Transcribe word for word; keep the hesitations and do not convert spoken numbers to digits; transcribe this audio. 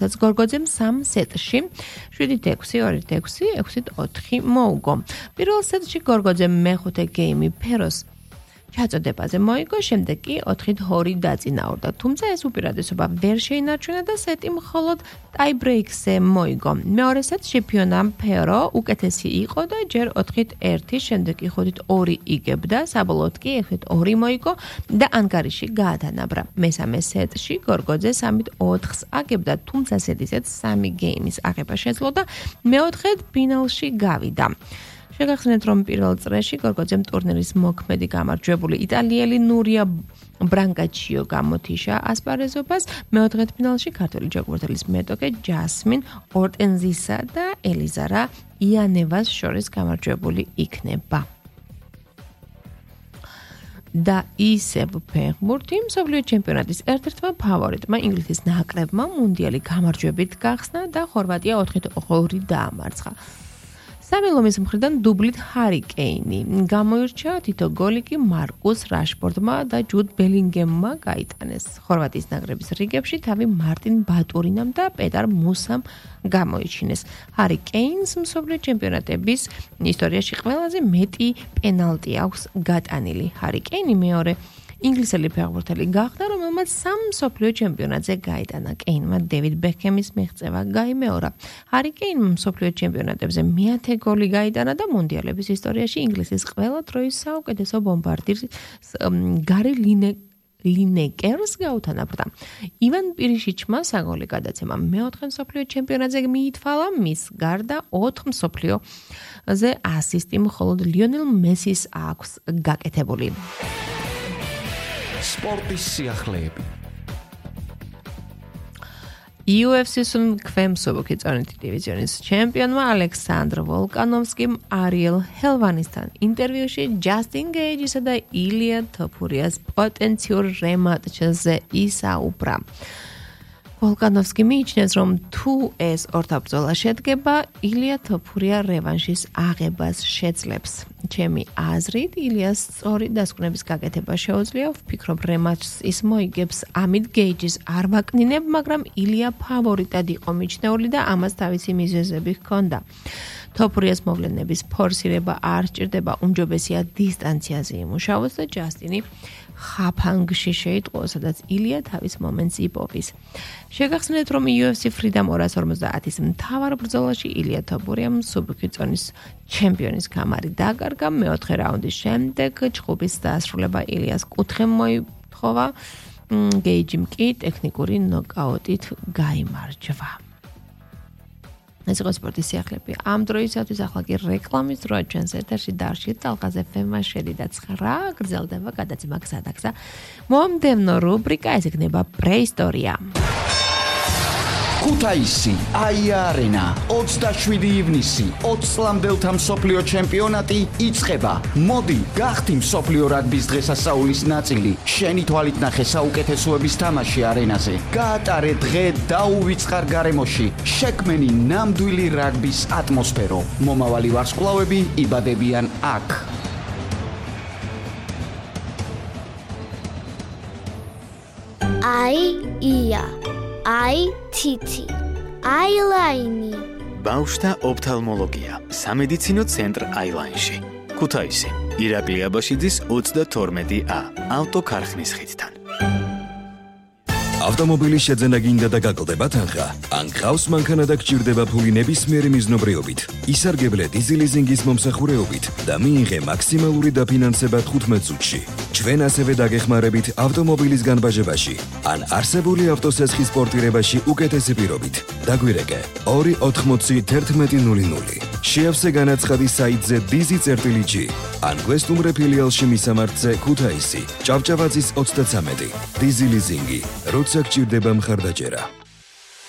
რაც გორგოძემ სამ სეტში შვიდით ექვსი, ორით ექვსი, ექვსით ოთხი მოუგო. პირველ სეტში გორგოძემ მეხუთე გეიმი ფეროს ჩაწოდებაზე მოიგო, შემდეგ კი ოთხით ორი დაწინაურდა. თუმცა ეს უპირატესობა ვერ შეინარჩუნა და სეტი მხოლოდ ტაიბრეიკზე მოიგო. მეორე სეტში ფიონამ ფერო უკეთესი იყო და ჯერ ოთხით ერთი, შემდეგ კი ხუთით ორი იგებდა, საბოლოოდ კი ექვსით ორი მოიგო და ანგარიში გაათანაბრა. მესამე სეტში გორგოძე სამით ოთხს აგებდა, თუმცა სეტისეთ სამი გეიმის აღება შეძლო და მეოთხედ ფინალში გავიდა. შეგახსენეთ, რომ პირველ წრეში გორგოძემ ტურნირის მოქმედი გამარჯვებული იტალიელი ნურია ბრანგაჩიო გამოთიშა ასპარეზობას, მეოთხედ ფინალში ქართველი ჯოგურთელის მეტოქე ჯასმინ ორტენზისა და ელიზარა იანევას შორის გამარჯვებული იქნება. და ისევ ფეხბურთი მსოფლიო ჩემპიონატის ერთ-ერთმა ფავორიტმა ინგლისის ნაკრებმა მუნდიალი გამარჯვებით გახსნა და ხორვატია ოთხით ორი დაამარცხა. სამილომის მხრიდან დუბლით ჰარი კეინი გამოირჩა, თითო გოლი კი მარკუს რაშფორდმა და ჯუდ ბელინგემმა გაიტანეს. ხორვატიის ნაკრების რიგებში თავი მარტინ ბატურინამ და პეტარ მუსამ გამოიჩინეს. ჰარი კეინს მსოფლიო ჩემპიონატების ისტორიაში ყველაზე მეტი პენალტი აქვს გატანილი. ჰარი კეინი მეორე ინგლისელი ფეხბურთელი გახდა, რომელმაც სამ მსოფლიო ჩემპიონატზე გაიტანა. კეინმა დევიდ ბექემის მიღწევა გაიმეორა. ჰარი კეინმა მსოფლიო ჩემპიონატებზე მეათე გოლი გაიტანა და მუნდიალების ისტორიაში ინგლისის ყველა დროის საუკეთესო ბომბარდირს გარი ლინე ლინეკერს გაუთანაბრდა. ივან პირიშიჩმა საგოლე გადაცემა მეოთხე მსოფლიო ჩემპიონატზე მიითვალა, მის გარდა ოთხ მსოფლიოზე ასისტი მხოლოდ ლიონელ მესის აქვს გაკეთებული. სპორტის სიახლეები. იუ ეფ სი-ის ქვემსუბუქი წონითი დივიზიონის ჩემპიონმა ალექსანდრ ვოლკანოვსკიმ არიელ ჰელვანისთან ინტერვიუში ჯასტინ გეიჯისა და ილია თოფურიას პოტენციურ რემატჩზე ისაუბრა. ვოლკანოვსკი მიიჩნევს, რომ თუ ეს ორთაბრძოლა შედგება, ილია თოფურია რევანშის აღებას შეძლებს. ჩემი აზრით, ილიას სწორი დასკვნების გაკეთება შეუძლია. ვფიქრობ, რემატჩს ის მოიგებს. ამით გეიჯის არ ვაკნინებ, მაგრამ ილია ფავორიტად იყო მიჩნეული და ამას თავისი მიზეზები ჰქონდა. თოფურიას მოვლენების ფორსირება არ სჭირდება, უმჯობესია დისტანციაზე იმუშაოს და ჯასტინი ხაფანგში შეიტყო, სადაც ილია თავის მომენტს იპოვის. შეგახსენეთ, რომ იუ ეფ სი Freedom ორას ორმოცდაათის მთავარ ბრძოლაში ილია თოფურიამ მსუბუქი წონის ჩემპიონის გამარი დაკარგა. მეოთხე რაუნდის შემდეგ ჭხუბის დასრულება ილიას კუთხე მოითხოვა, გეიჯიმ კი ტექნიკური ნოკაუტით გაიმარჯვა. ეს იყო სპორტის სიახლეები. ამ დროისათვის ახლა კი რეკლამის დროა ჩვენს ეთერში დარჩით. ალღაზ ეფ ემ-მა შედიდა ცხრა, გრძელდება გადაცემა გზადაგზა. მომდევნო რუბრიკა ეს იქნება პრეისტორია. ქუთაისი, აია-არენა, ოცდაშვიდი ივნისი, ოცი წლამდელთა მსოფლიო ჩემპიონატი იწყება. მოდი, გახდი მსოფლიო რაგბის დღესასწაულის ნაწილი. შენი თვალით ნახე საუკეთესოების თამაში არენაზე. გაატარე დღე დაუვიწყარ გარემოში. შექმენი ნამდვილი რაგბის ატმოსფერო. მომავალი ვარსკვლავები იბადებიან აქ. აი-ია აი თითი, აილაინი. ბავშვთა ოფთალმოლოგია, სამედიცინო ცენტრ აილაინში. ქუთაისი, ირაკლი აბაშიძის ოცდათორმეტი ა, ავტოქარხნის ხიდთან. ავტომობილის შეძენა გინდა და გაკლდება თანხა? ან გყავს მანქანა და გჭირდება ფული ნებისმიერი მიზნობრიობით, ისარგებლე დიზელიზინგის მომსახურეობით და მიიღე მაქსიმალური დაფინანსება თხუთმეტ წუთში. ჩვენ ასევე დაგეხმარებით ავტომობილის განბაჟებაში ან არსებული ავტოსესხის პორტირებაში უკეთესი პირობით. დაგვირეკე ორი ოთხმოცი თერთმეტი ნული ნული. შეავსე განაცხადი საიტზე დიზი წერტილი ჯი ან გვესტუმრე ფილიალში მისამართზე ქუთაისი, ჭავჭავაძის ოცდაცამეტი. დიზი ლიზინგი, როცა გჭირდება მხარდაჭერა.